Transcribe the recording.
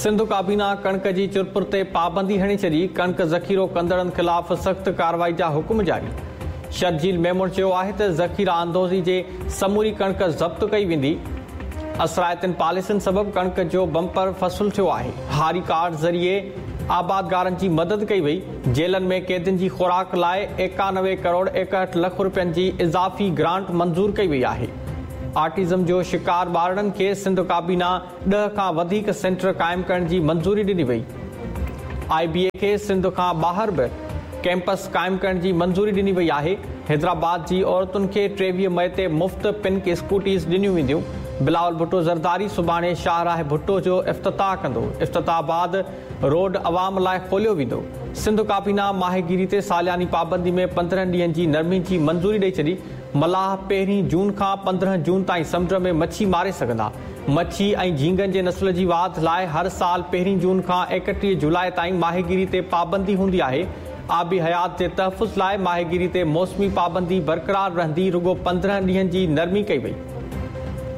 سنڌ ڪابينا ڪڻڪ جي چرپر تي پابندي هڻي ڇڏي، ڪڻڪ ذخيرو ڪندڙن خلاف سخت ڪارروائي جا حڪم جاري. شرجيل ميمڻ چيو آهي ته ذخيره اندوزي جي سموري ڪڻڪ ضبط ڪئي ويندي. اثرائتين پاليسين سبب ڪڻڪ جو بمپر فصل ٿيو آهي. هاري ڪارڊ ذريعي آبادگارن جي مدد ڪئي وئي. جيلن ۾ قيدين جي خوراڪ لاء 91 ڪروڙ 61 لک رپين جي اضافي گرانٽ منظور ڪئي وئي آهي. آٽزم جو شڪار ٻارڙن کي سنڌ ڪابينا ڏهه کان وڌيڪ سينٽر قائم ڪرڻ جي منظوري ڏني وئي. آء بي اي کي سنڌ کان ٻاهر به ڪئمپس قائم ڪرڻ جي منظوري ڏني وئي آهي. حيدرآباد جي عورتن کي 23 مئي تي مفت پنڪ اسڪوٽيز ڏنيون وينديون. بلاول ڀٽو زرداري سڀاڻي شاهراهه ڀٽو جو افتتاح ڪندو. افتتاح بعد روڊ عوام لاء کوليو ويندو. سنڌ ڪابينا ماهيگيري تي سالياني پابندي ۾ 15 ڏينهن جي نرمي جي منظوري ڏئي ڇڏي. ملاح پهرين جون کان 15 جون تائين سمنڊ ۾ مڇي ماري سگهندا. مڇي ۽ جهينگن جي نسل جي واڌ لاء هر سال پهرين جون کان 31 جولاء تائين ماهيگيري تي پابندي هوندي آهي. آبي حيات جي تحفظ لاء ماهيگيري تي موسمي پابندي برقرار رهندي رڳو 15 ڏينهن جي نرمي ڪئي وئي.